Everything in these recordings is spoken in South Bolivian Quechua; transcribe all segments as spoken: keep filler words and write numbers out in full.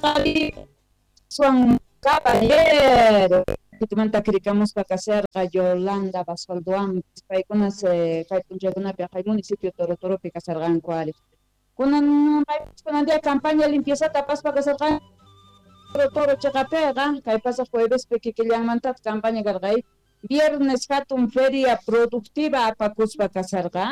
Kasarqa Caballero manta kirikamuspa kasarqa Yolanda Basualdoan paykunas kay p'unchaykunapi kay municipio Toro Toropi kasarqanku ari. Kunan kunan día campaña limpiezata apaspa kasarqan Toro Toro chaqapiqa kay pasaq juevespi kikillanmanta campaña karqa viernes hatun feria productiva apakuspa kasarqa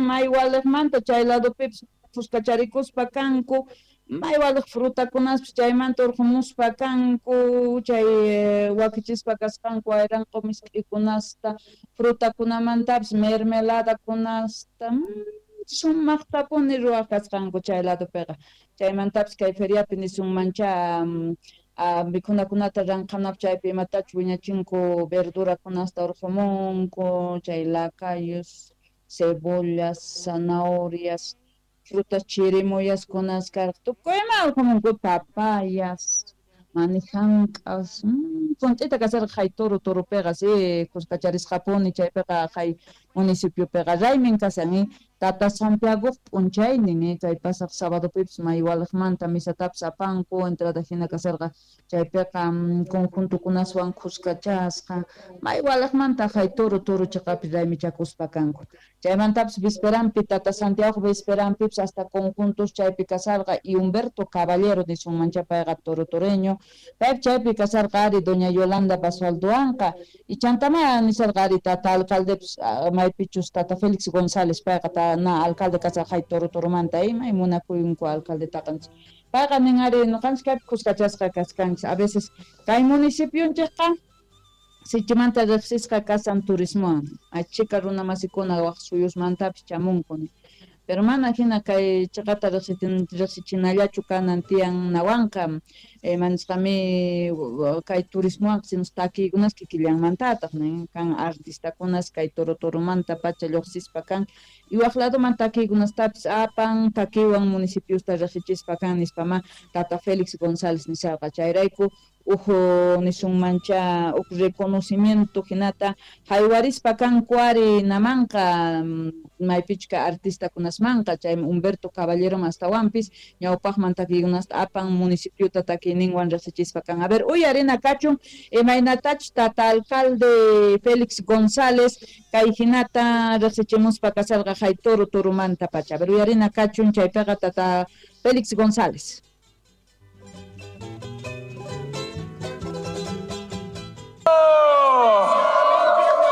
may waliqmanta chay ladopipis fuskacharikuspa kanku may waliq frutakunaspis chaymanta urqumuspa kanku chay wakichispa kasqanku ayranqu misk'ikunasta frutakunamantapis mermeladakunasta sumaqtapuni ruwaq kasqanku chay ladopiqa chaymantapis kay feriapi nisunmancha mikhunakunata ranqanap chaypi imatachu wiñachinku verdurakunasta urqumunku chay lacayos, cebollas, zanahorias, frutas chirimoyas kunas karqa tukuyma urqumunku papayas, manijank'as, punt'ita kasarqa hay Toro Toropiqa si kuskacharisqapuni chaypiqa hay municipiopiqa raymin kasan Tata Santiago p'unchaynin kay pasaq sabadopipis may waliqmanta misatapis apanku entrada hina kasarqa chaypiqa conjuntokunaswan kuskachasqa may waliqmanta hay Toro Toro chaqapi raymichakuspa kanku chaymantapis visperanpi Tata Santiago visperanpipis hasta conjuntos chaypi kasarqa y Humberto Caballero nisunmancha payqa Toro Toreño paypi chaypi kasarqa ari doña Yolanda Basualdoanqa y chantama nisarqa ari tata alcaldepis maypichus tata Félix González payqa ta na alcalde kasarqa hay Toro Toromanta ima y munakuyunku alcaldetaqa payqa nin ari ñuqanchik kaypi kuskachasqa kaskanchik a veces kay municipionchikqa sichimanta riqsisqa kasan turismowan achika runa masikuna waq suyusmantapis chamunku pero mana hina kay chaqata riqsichinallachu kanan tiyan nawanqa manisqami kay turismowan sino takiykunas kikillanmantataq nin kan artistakunas kay Toro Toromanta pacha lluqsispa kan y waq ladoman takiykunastapis apan takiywan municipiosta riqsichispa kan nispama tata Félix González nisarqa chayrayku uj nisunmancha uj reconocimiento hinata haywarispa kanku ari namanqa maypichka artistakunasmanqa chay Humberto Caballero astawanpis ñawpaqman takiykunasta apan municipiota takiyninwan riqsichispa kan. A ver, uyarina kachun imaynatach tata alcalde Félix González kay hinata riqsichimuspa kasarqa hay Toro Toromanta pacha. A ver, uyarina kachun chaypiqa tata Félix González.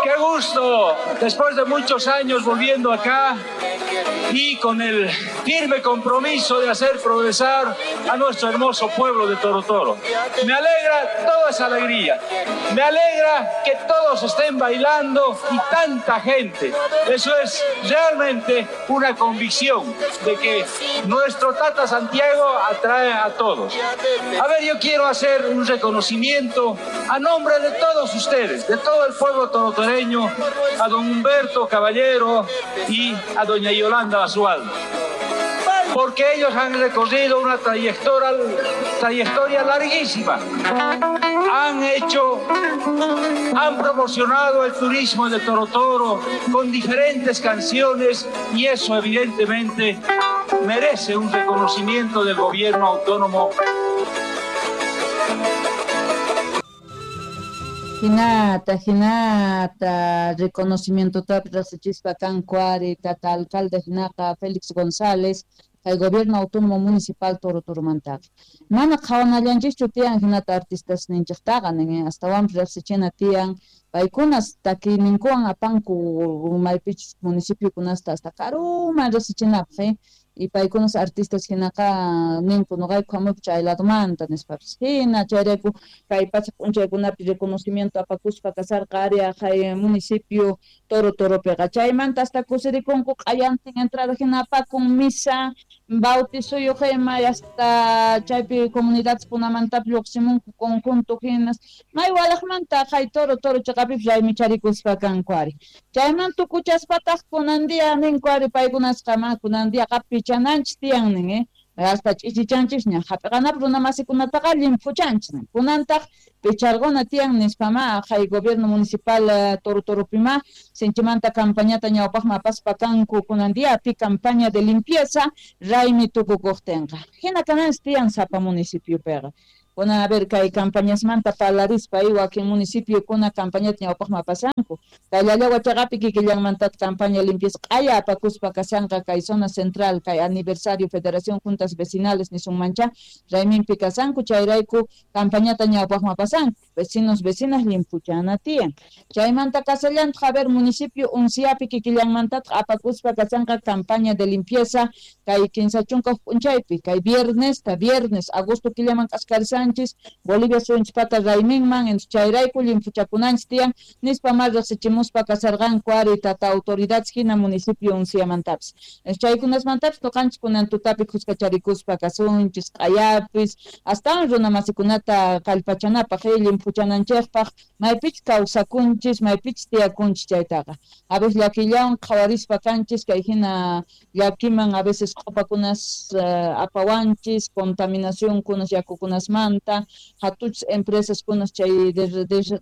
¡Qué gusto! Después de muchos años volviendo acá y con el firme compromiso de hacer progresar a nuestro hermoso pueblo de Toro Toro. Me alegra toda esa alegría, me alegra que todos estén bailando y tanta gente. Eso es realmente una convicción de que nuestro Tata Santiago atrae a todos. A ver, yo quiero hacer un reconocimiento a nombre de todos ustedes, de todo el pueblo torotoreño, a don Humberto Caballero y a doña Yolanda Basualdo, porque ellos han recorrido una trayectoria, trayectoria larguísima. Han hecho, han promocionado el turismo de Toro Toro con diferentes canciones y eso evidentemente merece un reconocimiento del gobierno autónomo. Hinata, hinata, reconocimiento riqsichispa kanku ari tata alcalde hinaqa Félix González kay gobierno autónomo municipal Toro Toromantaqa. Mana qhawanallanchikchu tiyan hinata artistas ninchiktaqa nin astawanpis riqsichina tiyan paykunas takiyninkuwan apanku maypichus municipiokunasta hasta karuman riqsichinapaq y paykunas artistas hinaqa ninku nuqayku hamuyku chay ladomanta nispapis hina chayrayku kay pacha p'unchaykunapi reconocimiento apakuspa kasarqa ari hay municipio Toro Toropiqa chaymanta hasta kusirikunku q'ayantin entrada hina apakun misa bautizuyuq ima hasta chaypi comunidades kunamantapis lluqsimunku conjunto hinas may walaqmanta hay Toro Toro chaqapipis raymicharikuspa kanku ari chayman tukuchaspataq kunan día ninku ari paykunasqa ma kunan día qapichananchik tiyan nin eh Hasta ch'ichichanchisña hap'iqanapaq runa masikunataqa llimphuchanchis kunantaq picharquna tiyan nispama hay gobierno municipal Toro Toropima sinchimanta campañata ñawpaqman apaspa kanku kunan diapi campaña de limpieza raymi tukukuqtinqa hina kananchis tiyan sapa municipiopiqa. Kuna a ver kay campañasmanta parlarispa wakin municipiokuna campañata ñawpaqman apasanku kay Llallagua chaqapi kikillanmantata campaña limpieza q'aya apakuspa kasanqa kay zona central kay aniversario Federación Juntas Vecinales nisunmancha rayminpi kasanku chayrayku campañata ñawpaqman apasanku vecinos vecinas limpuchana tiyan chaymanta kasallantaq a ver municipio Unciapi kikillanmantataq apakuspa kasanqa campaña de limpieza kay kinsa chunka p'unchaypi kay viernes ta viernes agosto killaman k'askarisan Bolivia suyunchpata rayminman chayrayku limpuchakunanchis tiyan nispa ma riqsichimuspa kasarqanku ari tata autoridades hina municipio Unciamantapis chaykunasmantapis ñuqanchis kunan tutapi khuskacharikuspa kasunchis q'ayapis astawan runa masikunata kallpachanapaq limpuchananchikpaq maypichus kawsakunchis maypichus tiyakunchis chaytaqa a veces llakillawan qhawarispa kanchis kay hina llakiman a veces q'upakunas apawanchis contaminacionkunas yakukunasman hatuchis empresas kunas chay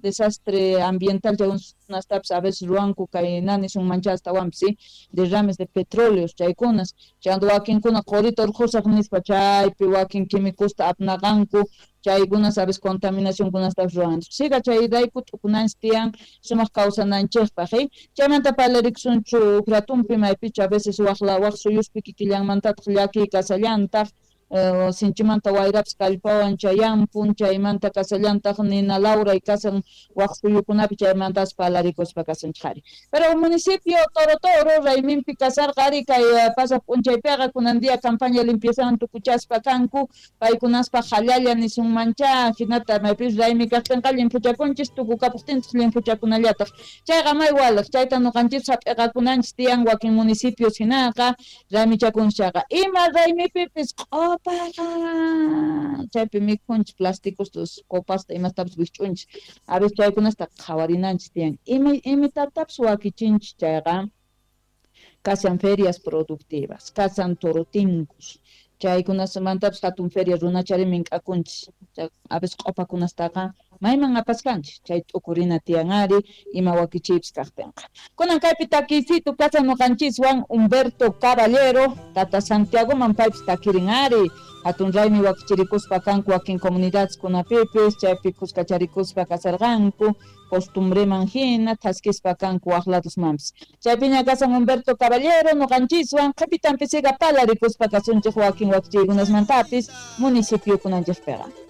desastre ambiental chaykunastapis a veces ruwanku kay nanisunmancha astawanpis ¿sí? Derrames de petróleos chaykunas chayanta wakinkuna qurita urqusaq nispa chaypi wakin químicosta apnaqanku chaykunas a veces contaminacionkunastapis ruwanchis siga chayrayku t'ukunanchis tiyan sumaq kawsananchikpaq ¿sí? Chaymanta parlarikusunchu huk ratunpi maypichu a veces waq waq suyuspi kikillanmantataq llakiy kasallantaq sinchimanta wayrapis kallpawan chayampun chaymanta kasallantaq nina lawray kasan waq suyukunapi chaymantas parlarikuspa kasanchik ari pero municipio Toro Toro rayminpi kasarqa ari kay pasaq p'unchaypiqa kunan día campaña limpieza tukuchaspa kanku paykunaspa hallalla nisunmancha hinata maypis raymi kaqtinqa limpuchakunchis tukukapuqtinchis limpuchakunallataq chayqa may walaq chayta ñuqanchis hap'iqakunanchis tiyan wakin municipios hinaqa raymichakunchis chayqa ima raymipipis q'upaqa chaypi mikhunchis plásticos copasta imastapis wikch'unchis a veces chaykunasta qhawarinanchis tiyan ima imitatapis wakichinchis chayqa kasan ferias productivas kasan torotinkus chaykunasmantapis hatun feria runachari mink'akunchis a veces q'upakunastaqa mayman apaskanchis chay t'ukurina tiyan ari ima wakichiypis kaqtinqa kunan kaypi takiysitu kasan ñuqanchiswan Humberto Caballero tata Santiagoman paypis takirin ari hatun raymi wakichirikuspa kanku wakin comunidades kunapipis chaypi khuskacharikuspa kasarqanku costumbreman hina thaskispa kanku waq ladosmanpis chaypiña kasan Humberto Caballero ñuqanchiswan qhipitanpisiqa parlarikuspa kasunchik wakin wakichiykunasmantapis municipiokunanchikpiqa.